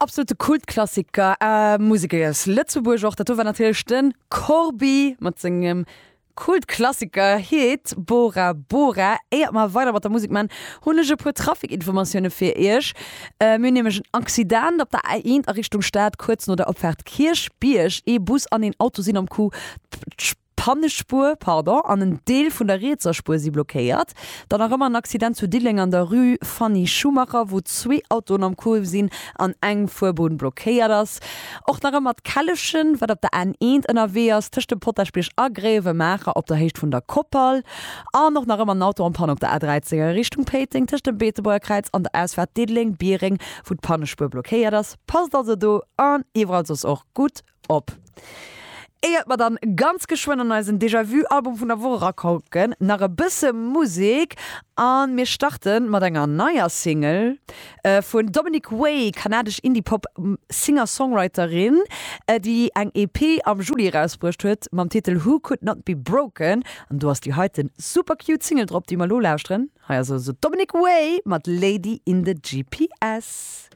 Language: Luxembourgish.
Absolute Kultklassiker, Museker aus Lëtzebuerg och. Dat do war natierlech de Corbi mat sengem Kultklassiker Hit Bora Bora. Éiert mer weider mat der Musek man, hunn ech e puer Trafikinformatioune fir iech. Mir hunn nämlech en Accident op der A1 a Richtung Stad, kuerz no der Opfaart Kierchbierg. Ee Bus an een Auto sinn am Coup. D'Pannespuer, pardon, an en Deel vun der rietser Spuer si blockéiert. Dann nach ëmmer en Accident zu Diddeleng an der Rue Fanny Schumacher, wou zwee Autoen am Coup sinn an eng Fuerbunn blockéiert ass. Och nach ëmmer d'Kellechen, wat op der N1 ënnerwee ass, tëscht dem Potaschbierg a Gréiwemaacher op der Héicht vun der Koppel. An och nach ëmmer en Auto en Panne op der A13 a Richtung Péiteng, tëscht dem Beetebuerger Kräiz an der Ausfaart Diddeleng-Biereng, wou d'Pannespuer blockéiert ass. Passt also do an iwwerall soss och gutt Op. Éiert mer dann ganz geschwënn an eisen Déjà-Vu Album vun der Woch erakucken, nach e bësse Musek an mir starten mat enger neier Single vun Dominic Way, kanadesch Indie-Pop Singer-Songwriterin, déi eng EP am Juli erausbruecht huet mam Titel Who Could Not Be Broken an do ass déi heiten super cute Single drop, déi mer elo lauschteren. Hei ass also Dominic Way mat Lady in the GPS.